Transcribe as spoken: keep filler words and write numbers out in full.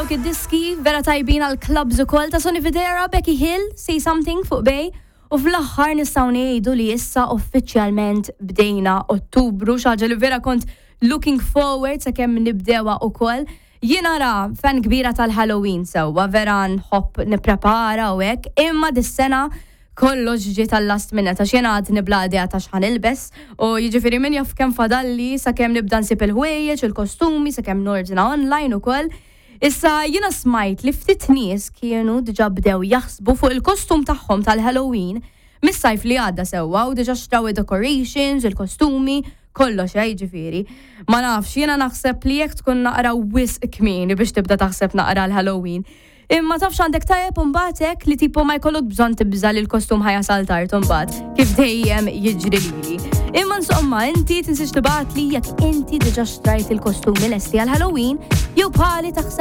Dawk id-diski vera tajbin għal clubs ukoll ta' Sonny Fodera, Becky Hill, Say Something fuq Bay. U fl-aħħar nistgħu ngħidu li issa uffiċjalment bdejna Ottubru, xi ħaġa li vera kont looking forward sakemm nibdewa ukoll. Jiena ra fan kbira tal-Halloween sewwa, vera nħobb nipprepara u hekk, imma dis-sena kollox ġie tal-last minute, għax jiena għadni bla idea ta' x'ħa nilbes u jiġifieri min jaf kemm fadalli sakemm nibda nsib il-ħwejjeġ, il-kostumi, sakemm nordna online ukoll. Issa jiena smajt li ftit nies kienu diġà bdew jaħsbu fuq il-kostum tagħhom tal-Halloween mis-sajf li għadda sewwa u diġà xtraw decorations, il-kostumi, kollox eh, jiġifieri. Ma nafx, jiena naħseb li jekk tkun naqra wisq kmieni biex tibda taħseb naqra l-Halloween. Imma tafx għandek tajjeb imbagħad hekk li tipo ma jkollok bżonn tibża li l-kostum ħa jasal tard imbagħad kif dejjem jiġri lili. Imma insomma, inti tinsiex tibgħatli jekk inti diġà xtrajt il-kostumi lesti għal Halloween jew bħali taħseb